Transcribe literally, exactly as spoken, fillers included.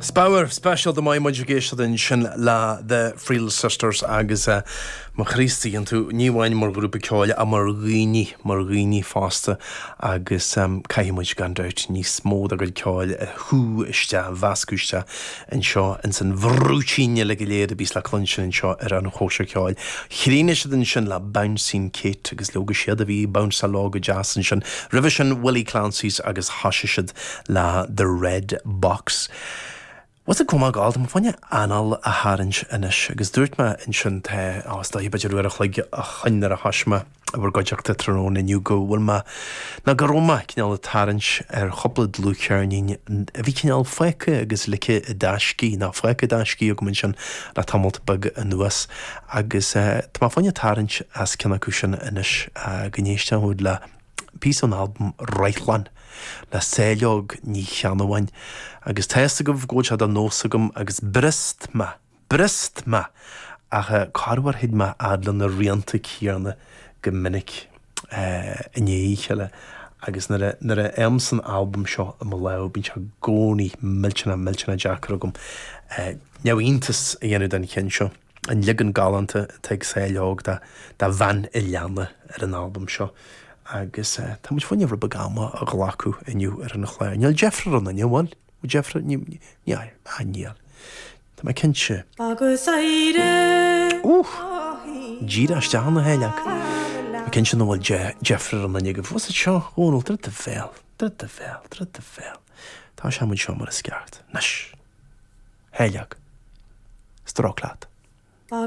Spiorad speisialta maith muid ag éisteacht ansin le The Friel Sisters agus uh, mo Chríostaí tú ní amháin mar ghrúpa ceoil ach mar dhaoine mar dhaoine fosta agus um, caithfidh muid gan dabht níos mó dá gcuid ceoil a shú isteach mheascadh isteach anseo ins an bhrúitín le go léir a bhíos le cluinstin anseo ar an chóisir ceoil. Chríochnaigh siad ansin le Bouncing Kate agus leoga siad a bhí bounce lá go deas ansin. Roimhe sin Willie Clancy's agus thosaigh siad le The Red Box. Was cumá gáil am fanne anáil a tharraingt anois agus dúirt mé ansin te á b'fhéidir uair a chloig ó shin nuair a thosaigh mé i bhur gcuideachta tráthnóna inniu go bhfuil mé ná go raibh mé cineál ag tarraingt ar chúpla dlúthcheirnín a bhí cineál fágtha agus ligthe i dtaisce ná fágtha i dtaisce agam ansin le tamall beag anuas agus uh, tá mé fáinne tarraingt as ceann acu sin anois uh, go n-éisteoidh le píosa ón albam Reithlan le Saileog Ní Cheannabháin agus tá a fhios agaibh go bhfuil sé de nós agam agus brist mé brist mé ach corruair thig mé fhad le na rianta céanna go minic i ndiaidh a chéile agus nuair nuair a fhaighim san albam seo i mo lámh bíonn sé i gcónaí millteanach millteanach deacair agam neamhiontas a dhéanamh den cheann seo an leagan galánta atá ag Saileog de de bhean an leanna ar an albam seo. agus uh, tá muid fáinne rud beag ama a ghlacadh inniu ar an chlár. Níl deifir orainn bhfuil deifir ní níl. Tá mé cinnte. Agus éire Díreach isteach na héileach. Tá cinnte nach bhfuil deifir orainn go bhfuil seo ónal dru de bhéal, dru de bhéal, dru de bhéal. Tá sé muid seo mar is ceart. Anois. Héileach. Stróic leat.